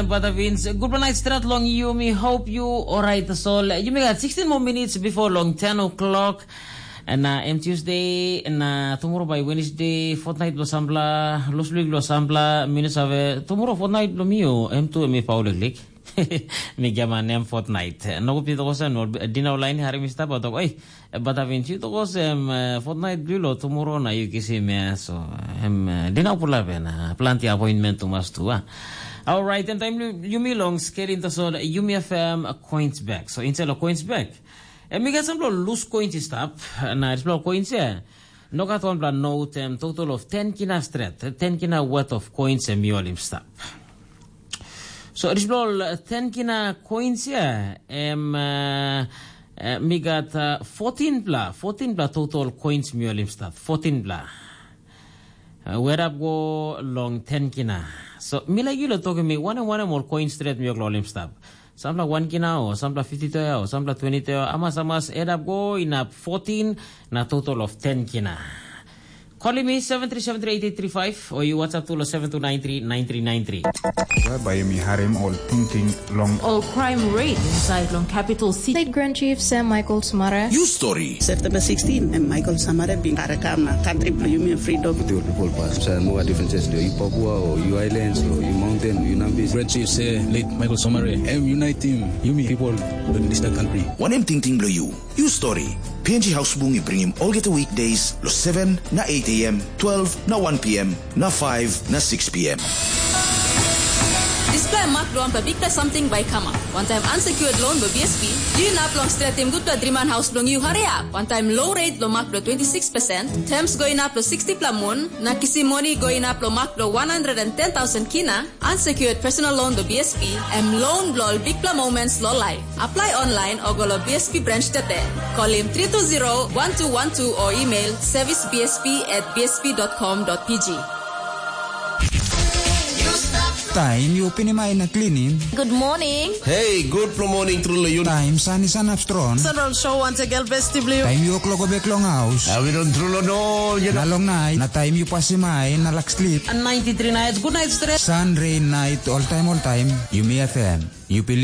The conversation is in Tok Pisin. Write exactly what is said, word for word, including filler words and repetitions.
Bata Vince, gutpela nait stret long yumi. Hope you alright, tasol yumi gat sixteen more minutes before long ten o'clock. Na em Tuesday, na tomorrow by Wednesday, fortnight lo sampla, loslik lo sampla, minus ave, tomorrow fortnight lo mi o, em tu em i pau liklik. Mi giaman em fortnight. Nogut pi tokos em, no, dina ulain hari mi stap, tok, oi, Bata Vince, yu tokos em, eh, fortnight bli lo tomorrow na yu kisim ya, so, em, eh, dina pula ben, eh, planti appointment tumas tu, ah. Alright, em taim yumi long skelim tasol, yumi F M coins back. So, inside lo coins back, em mi gat sampela lus coins i stap, na dispela coins ya, no gat wanpela note, em total of ten kina stret, ten kina worth of coins em mi holim stap. So, dispela ol ten kina coins ya, em, eh, eh, mi gat, eh, fourteen pla, fourteen pla total coins mi holim stap, fourteen pla. Eh, werap go long ten kina. So, mi laik yu lo tokim mi, wanem, wanem ol coins stret mi ok lo holim stap. Sampla wan kina o, sampla fifty toea o, sampla twenty toea, amas, amas, edap go inap fourteen, na total of ten kina. Calling me seven three seven three eight eight three five, or you WhatsApp to seven two nine three nine three nine three. Bai mi harim ol tingting long ol crime rate inside long capital city. State Grand Chief Sam Michael Samara. You story. September sixteen, em Michael Samara bin karakam na country bilong yumi freedom. With your people pass. So no differences lo you Papua or you islands or you mountain, you Nambis. Grand Chief say late Michael Samara, em unite team, yumi people in this country. Wanem tingting bilong you? You story. P N G House Bung i bringim olgeta weekdays lo seven na eight a.m., twelve na one p.m., na five na six p.m. Dispela mak bilong wanpela bikpela samting bai i kamap. Wantaim unsecured loan bilong B S P, yu inap long stretim gutpela driman haus bilong yu hariap. Wantaim low rate long mak bilong twenty six percent, terms go inap long sixty pela mun, na kisim moni go inap long mak bilong one hundred and ten thousand kina, unsecured personal loan bilong B S P, em loan bilong ol bikpela moments long life. Apply online o go lo B S P branch tete. Kolim three two zero one two one two o email service B S P at B S P dot com dot P G. Taim yu pinim ai na klinim. Good morning. Hey, good morning tru lo yu. Taim san i sanap strong. Central Show once again, Best Blue. Taim yu klok bek long haus. Awi don tru lo no, you know. Na long nait, na taim yu pasim ai na lak slip. And ninety-three nights, good night stress. San, rain, night, all time, all time. Yumi F M. Yu pilim